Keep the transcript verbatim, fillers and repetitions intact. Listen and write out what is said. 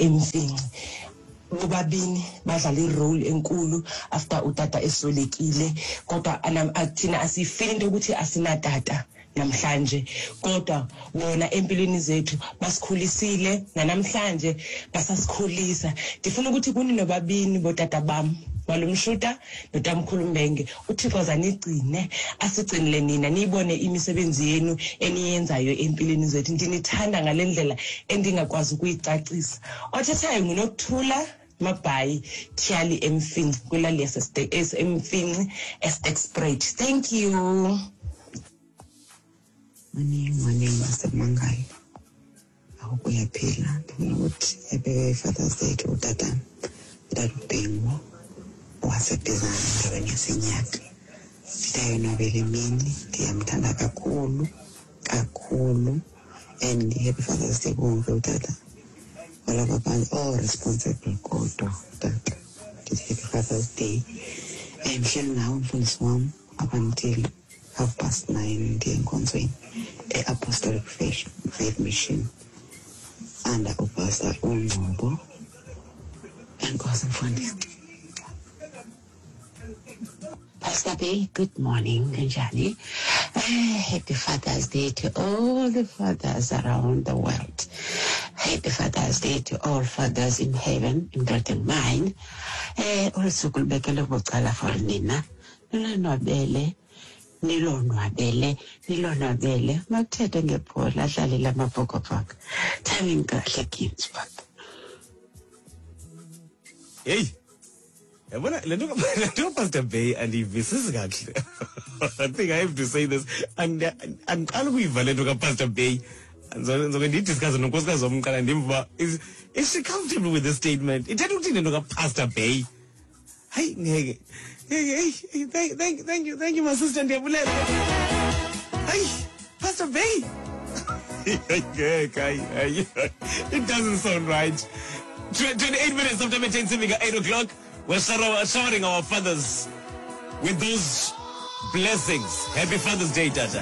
eMfinci. Bobabini badlala i-role enkulu after utata eswelekile, kodwa thina asiyifili into yokuthi asinatata namhlanje, kodwa bona empilweni zethu basikhulisile nanamhlanje basasikhulisa. Ndifuna ukuthi kuni nobabini botata bam, Malumshuta noTamkhulu Mbenge, uThixo azanigcine, asigcinile nina, niyibone imisebenzi yenu eniyenzayo empilweni zethu. Ndinithanda ngale ndlela endingakwazi ukuyicacisa. Othethayo nguNokuthula Mabhayi Tyhali eMfinci, kwilali yaseMfinci eSterkspruit. Thank you. Morning, morning, Master Mangali. I hope uyaphila. Ndifuna ukuthi happy Father's Day to utata, utata uBhengu waseBhizana endaweni yaseNyaka. Ndiyayonwabela imini, ndiyamthanda kakhulu kakhulu, and happy Father's Day kuwonke utata walapha phantsi, all responsible kodwa utata. Ndithi happy Father's Day. Um ndihleli nawe mfundisi wam up until half past nine, ndiye enkonzweni e-Apostolic Faith, Faith Mission under uPastor uNgcobo. Enkosi mfundisi. Pastor B, good morning, Njani. Uh, happy Father's Day to all the fathers around the world. Happy Father's Day to all fathers in heaven, including mine. Eh, olu suku lubekele bucala for nina. Nilonwabele, nilonwabele, nilonwabele. Makuthethwe ngebhola, adlalele amaBhokobhoko. Timing kahle Ginsburg. Hey, yabona le nto le nto Pastor Bay andiyivisisi kakuhle. I think I have to say this. Andiqala ukuyiva le nto kaPastor Bay. Ndizoke ndiyidiscusse nonkosikazi wam qala, ndimva uba is is she comfortable with this statement. Ithetha ukuthini le nto kaPastor Bay? Hayi ngeke. Hey, hey, thank, thank, thank you, thank you, my sister, ndiyabulela. Hayi, Pastor Bay. Ngeke, hayi, hayi. It doesn't sound right. twenty-eight minutes after ten, eight o'clock. We're showering our fathers with those blessings. Happy Father's Day, Tata.